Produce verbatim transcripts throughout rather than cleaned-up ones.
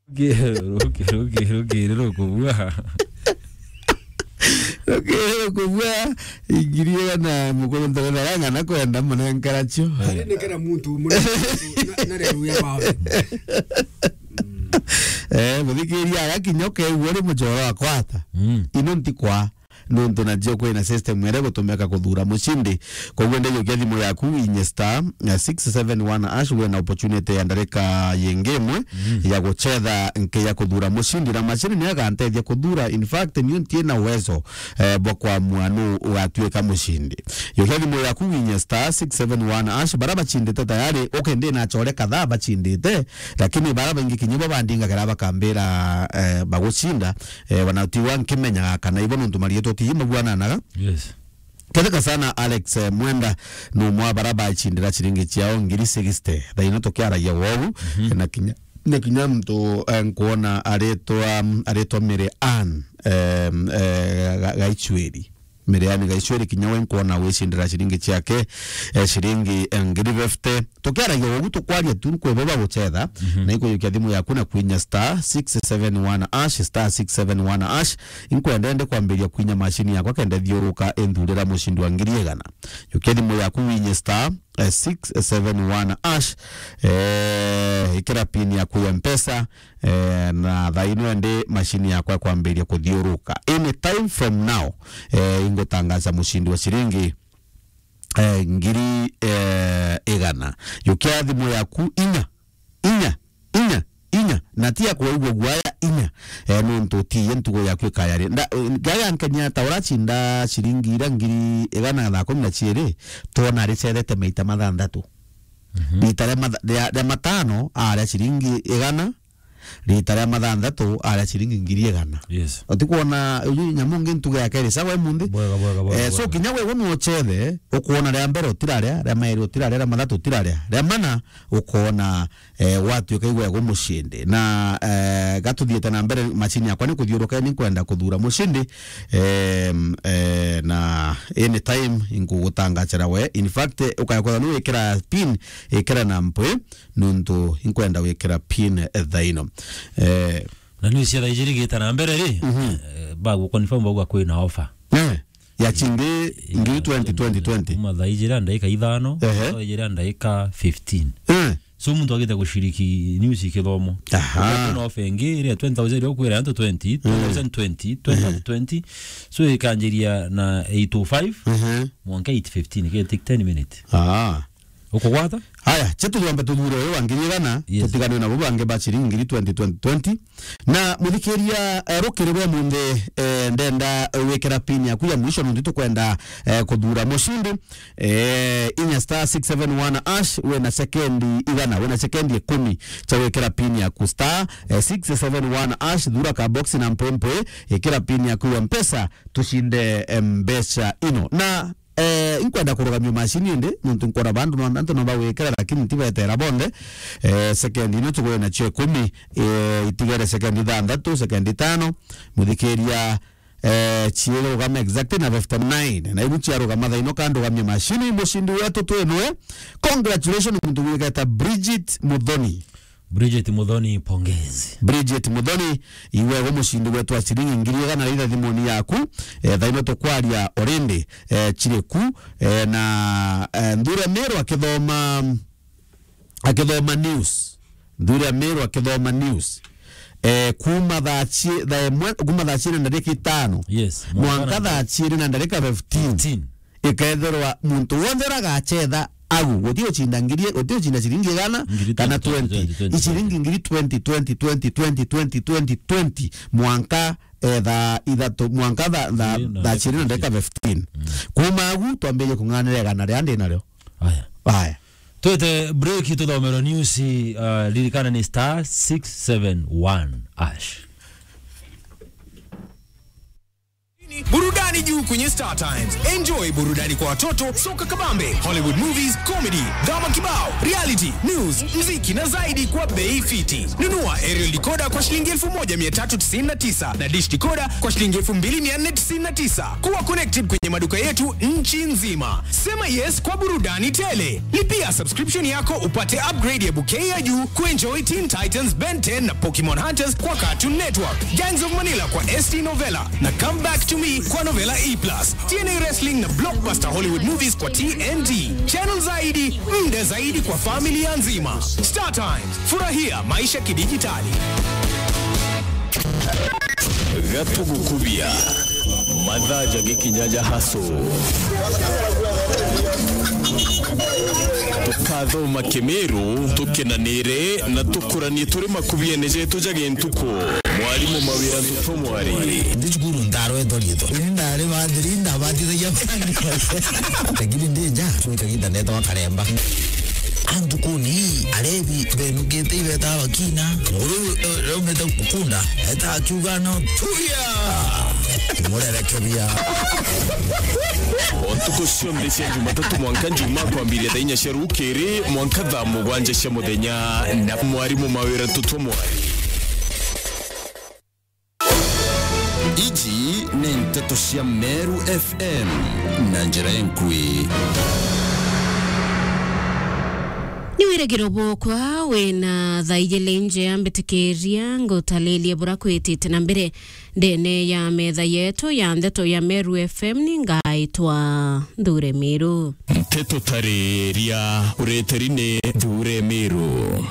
Ruki, ruki, ruki, ruki, rukubua. Ruki, rukubua. Ingiri na mukuru ntare na ng'ana kwenda munenkara cio. Ari nekera muntu, munenkara cio, na, na rero ya bawe. Eh, muthikiria agakinya ukeigua uri muchoro wa kwata. Mm. Ino ntikwa. Nontu nacio kwina system iria igutumika kuthura mucindi. Koguo ndejukia thimu yaku, inye star, eh, six seven one hash, wina opportunity ya ndarika yingi imwe ya guchetha nki ya kuthura mucindi, na macini ni agantethia kuthura. In fact, niu ntiina uwezo, eh, bwa kwamua nu ugatuika mucindi. Jukia thimu yaku, inye star six seven one hash, bara bachindite tayari, okay, ndi na achore kadhaa bachindite, lakini bara baingi kinya bo bandingagira bakambira, eh, bagucinda, eh, bana tiwa nkimenyaga kana ibo nontu marietwa ti mabuananaga. Yes. Ketheka sana Alex, eh, Mwenda, ni umwe wa bara bachindira ciringi ciao ngiri sixty. Thaino tukiaragia wogu, mhm, na kinya, na kinya muntu, eh, nkuona aritwa, aritwa Mary Ann, eh, eh, Ga-, Gaichweri. Miriani Gaicweri kinya we nkwona wicindira ciringi ciake, eh, ciringi, eh, ngiri fifty. Tukiaragia ugu tukwaria tu nkwibo baguchetha, mhm, na ikujukia thimu yaku na kwinya star six seven one hash, star six seven one hash. Inkwenda ende kwambiria kwinya macini yakwa kenda thiuruka inthurira mucindi wa ngiri igana. Jukia thimu yaku winye star, eh, six seven one hash, eh, ikira pin yaku ya Mpesa, eh, na thaino ndi macini yakwa ikwambiria kuthiuruka. Any time from now, eh, ingutangaza mucindi wa ciringi, eh, ngiri, eh, igana. Jukia thimu yaku inya, inya, inya, inya, na ti ya kuigua guaya inya, eh, nontu ti ye ntugo yaku ikayari. Nda-, eh, gaya nkenya ta uracinda ciringi ira ngiri igana na kumi na ciiri, twona ricethete maita mathanthatu. Mhm. Rita ria matha-, ria, ria matano aria ciringi igana, rita ria mathanthatu aria ciringi ngiri igana. Yes. Utikwona uyu nyamu ngi ntuge yake iri sawa imunthi? Bwega, bwega, bwega, eh, so bwega. Kinya we unu uchethe, ukwona ria mbere utiraria, ria mairi utiraria, ria mathatu utiraria, ria mana ukwona, eh, watuika igwe gumucindi. Na, eh, gatuthiite na mbere, macini yakwa ni kuthiuruka, ni nkwenda kuthura mucindi, em, eh, na anytime inkugutangachira we. In fact, ukaya kwethwa ni wikira pin, ikira na mpwi, nontu inkwenda gwikira pin, eh, thaino. Eh, na news cia thaa ijiri igita na mbere ri, mhm, eh, bagu confirm bauga kwina offer. Eh, ya chingi ngiri twenty, twenty, twenty. Kuma thaa ijiri na ndagika ithano, ehe, thaa ijiri na ndagika fifteen. Eh. So muntu agite gushiriki news ikithomo. Aha. Kwina offer ingi iria twenty thousand iria ukwira antu twenty, eh, twenty thousand twenty, twenty thousand twenty. So ikanjiria na eight oh five, ehe, mwanka eight fifteen, ke take ten minutes. Ah. Ukugwata? Haya, che tuthombe tuthure uyu wa ngiri igana, yes, tutiganwe nabo bangi ba ciringi ngiri twenty, twenty, twenty. Na muthikiria, eh, rukiri rwa munthi, eh, ndenda wikira pin yaku ya mwisho, nontu tukwenda, eh, kuthura mucindi. Eh, inya star six seven one hash, wina sekendi igana, wina sekendi ikumi cha wikira pin yaku, star, eh, six seven one hash, thura ka box na mpwempwe, ikira pin yaku ya Mpesa, tucinde, eh, mbeca ino. Na Eh, inkwenda kurugamia macini indi, nontu nkwona bandu no, antu no bagwikira, lakini ntibetera bonthe. Eh, sekendi ino tugwe nacio ikumi, eh, itigere sekendi ithanthatu, sekendi itano, muthikiria, eh, ciirugama exactly na fifty nine. Na ibu ciarugama thaino kandugamia macini, mucindi wetu twinwe. Congratulations, muntu gwiketa Bridget Muthoni. Bridget Muthoni, pongezi. Bridget Muthoni, iwe gu mucindi wetu wa ciringi ngiri igana ritha thimuni yaku. Eh, thaino tukwaria already, eh, chiriku, eh, na, eh, Nthure Meru akithoma, akithoma news. Nthure Meru akithoma news. Eh, kuma thaa chi-, thaa imwe, kuma thaa chiiri na ndarika itano. Yes, mwanka mwanka na thaa chiiri na ndarika fifteen. Fifteen. Ikethirwa muntu wonthe uria agachetha agu, guti ucinda ngiri, guti ucinda ciringi igana kana twenty, twenty, twenty, twenty, twenty, twenty, twenty, twenty, twenty, twenty, mwanka, eh, thaa ithatu, mwanka tha-, tha-, thaa ciiri na ndagika fifteen. Mm. Kuma agu, twambirie kung'anira igana riria ndi nario. Aya. Aya. Twete break, tuthomerwe news, uh, ririkana ni star six seven one hash. Burudani. Ni juu kwenye Star Times. Enjoy burudani kwa watoto, soka kabambe, Hollywood movies, comedy, drama kibao, reality, news, mziki na zaidi kwa bei fiti. Nunua aerial decoder kwa shilingi elfu moja mia tatu tisini na tisa na dish decoder kwa shilingi elfu mbili mia nne tisini na tisa. Kuwa connected kwenye maduka yetu nchi nzima. Sema yes kwa burudani tele. Lipia subscription yako upate upgrade ya bouquet ya juu kuenjoy Teen Titans, Ben ten na Pokemon Hunters kwa Cartoon Network, Gangs of Manila kwa S T Novella na Come Back to Me kwa Novella E plus, T N A Wrestling na blockbuster Hollywood movies kwa T N T. Channel zaidi, muda zaidi kwa familia nzima. Star Times, furahia maisha kidijitali. Gatugukubia. Mathaa jagikinya ja hustle. Tukathoma Kimiru, tukenanire na tukuranie turi makubiene jetu ja gintuku. Mwarimu Mawira Ntutu Mwari. Ndi cukuru ndarwetwa riitwa. Ni ndari bathiri, ndabatithagia bandi. Lakini ndi nja, twi kaginda neetagwa Karemba. Antukuni, arebi, benukite ibeta bakina. Nguru, eh, raumite kunda. Eta akiuga no, tuya. Murerekebia. O ntuku cionthe cia Jumatatu mwanka Njumaa kwambiria thaa inya cia rukiri mwanka thaa mugwanja cia muthenya na mwarimu Mawira Ntutu Mwari. Iji ni nteto cia Meru F M na njira inkui. Ni wirigiro bwokwa wina thaa igiri njea, mbitikiria ngutaririe bura kwitite na mbere ndene ya metha yetu ya nteto ya Meru F M. Ni ngaitwa Nthure Miru. Nteto tariria ureteri ni Nthure Miru.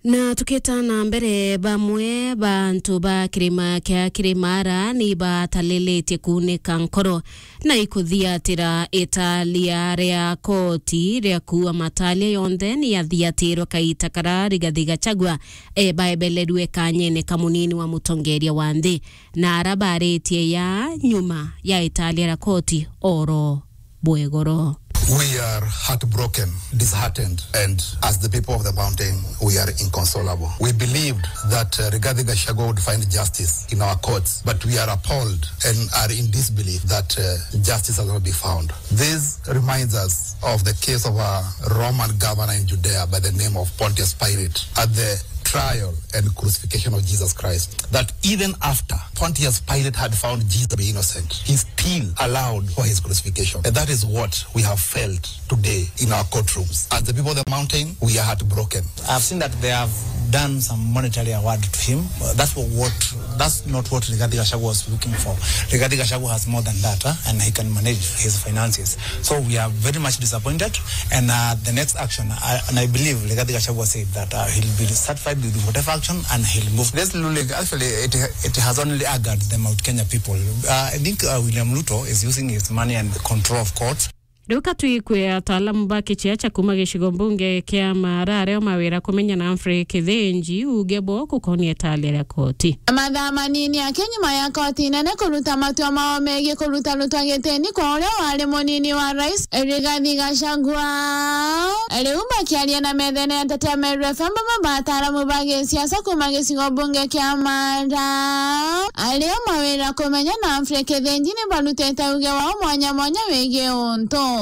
Na tukita na mbere, bamwe ba antu ba kirima kia Kirimara ni batalilite kuunika nkoro na ikuthiatira italia ria koti ria kuua matalia yonthe ni yathiatirwe kaita kara Rigathi Gachagua e baebelerue kanyene ka munini wa mutongeria wa nthi, na ara baritie ya nyuma ya italia ria koti oro bwegoro. We are heartbroken, disheartened, and as the people of the mountain, we are inconsolable. We believed that, uh, Rigathi Gachagua would find justice in our courts, but we are appalled and are in disbelief that, uh, justice has not been found. This reminds us of the case of a Roman governor in Judea by the name of Pontius Pilate at the trial and crucifixion of Jesus Christ, that even after Pontius Pilate had found Jesus to be innocent, he still allowed for his crucifixion. And that is what we have felt today in our courtrooms. As the people of the mountain, we are heartbroken. I've seen that they have done some monetary award to him. Uh, that's what, what, that's not what Rigathi Gachagua was looking for. Rigathi Gachagua has more than that, huh? And he can manage his finances. So we are very much disappointed, and, uh, the next action, uh, and I believe Rigathi Gachagua said that, uh, he'll be satisfied with whatever action and he'll move. This ruling, actually, it, it has only angered the Mount Kenya people. Uh, I think, uh, William Ruto is using his money and the control of courts. Riu ka twikwe ataalamu ba kichia cha kuma gicigo mbunge kia Mara ario mawira kumenya na Humphrey Kithinji uge bo gukonia italia ria koti. Mathaa manini aki nyuma ya koti nene kuruta matua mao megii kuruta rutwa gitini kwa uria wari munini wa rais Rigathi Gachagua. Riu makiaria na methene ya Ntetea Meru F M, bamwe ba ataaramu ba gisiasa kuma gicigo mbunge kia Mara ario mawira kumenya na Humphrey Kithinji ni barutite uge wao mwanya mwanya wigii untu.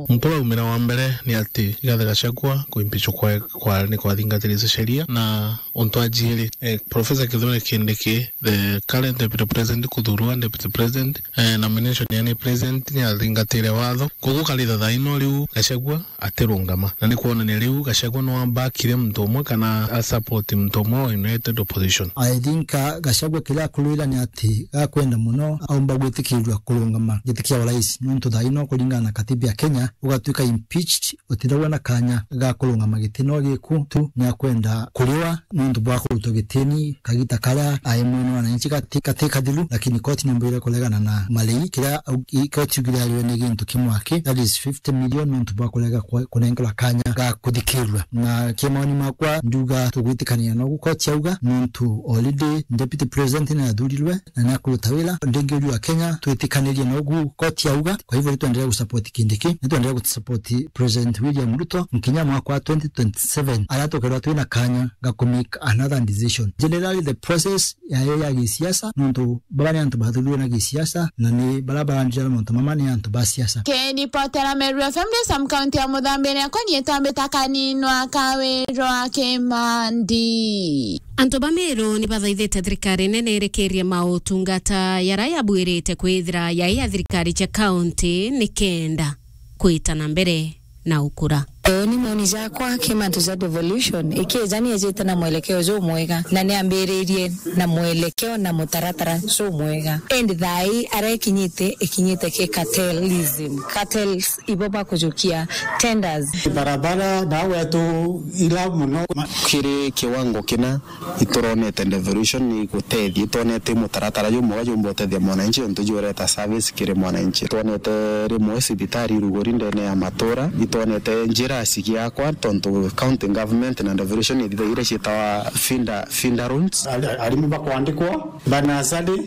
Nkuraumira wa mbere ni ati Rigathi Gachagua kuimpichwa kwa, kwa, ni kwathingatiritie sheria, na untu wa jiiri, eh, Professor Kithure Kindiki, the current deputy president, kuthurwa deputy president, eh, nomination ya ni president ni athingatire watho. Koguo karitha thaa ino riu Gachagua atirungama. Na ni kwonania riu Gachagua no abakire muntu umwe kana a support muntu umwe wa United Opposition. I think, uh, Gachagua kiria akurwira ni ati gakwenda muno aumba gwitikirirua kurungama giti kia urais, nontu thaa ino kuringana na katiba ya Kenya, ugatuika impeached, utiragwa na kanya ga kurungama giti no giku tu, ni akwenda kuriwa nontu bwa kurutwa gitini kagita karia ai mwene wananchi gati, gati kathiru, lakini koti ni mbwire kuregana na marei kiria au-, i-, koti yugire ariwe ni gintu kimwe aki, that is fifty million, nontu bwa kurega kwa-, kunengerwa kanya ga kuthikirua. Na kia maoni makwa, nduga tugwitikania nogu koti yauga, nontu already deputy president ni athurirwe na ni akuruta wira. Ndingi uriu wa Kenya, twitikanirie nogu koti yauga, kwa hivyo ritwenderea support Kindiki, ni twenderea gu support President William Ruto nkinya mwaka wa twenty twenty-seven, aria tukeethirwa twina kanya ga ku make another decision. Generally, the process yayo ya gisiasa, nontu baba ni antu bathurirwe na gisiasa, na ni baria barandira mauntu mama ni antu ba siasa. Kiripotera Meru F M ndi Sam, kaunti ya Muthambi, ni akwa nietwa Mbita Kaninwa Kawirwa Kimandi. Antu ba Meru ni bathaithite thirikari nene irikirie mautungata jaria yabuirite kwithira jai ja thirikari cia kaunti nikenda kwita na mbere na ukura. Uu ni maoni jakwa ki mantu ja devolution. Ikija ni ejite na mwelekeo jumwega, na ni ambiririe na mwelekeo na mutaratara jumwega. Indi thaa ii aria ikinyite, ikinyite ki cartelism. Cartels ibo bakujukia tenders. Barabara na wetu ila muno. Kiri kiwango kina ituronete devolution ni gutethia, itwonete mutaratara jumwega jumba utethia mwananchi, untu jureta service kiri mwananchi. Itwonete rimwe cibitari iruguri ndene ya matura, itwonete njira cigiakwa, tontu county government na devolution ithithagia iria cietawa feeder, feeder roads. Ari-, arimu bakwandikwa, banasari.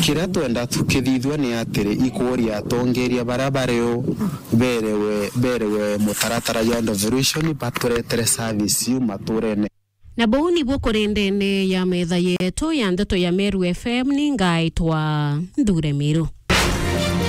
Kiria twenda tukithithua ni atiri, ikuria atongeria baria bari o berewe, berewe mutaratara jwa devolution, baturetere service iu maturene. Na buu nibuo kuri ndene ya metha yetu ya ndeto ya Meru F M, ni ngaitwa Nthure Miru.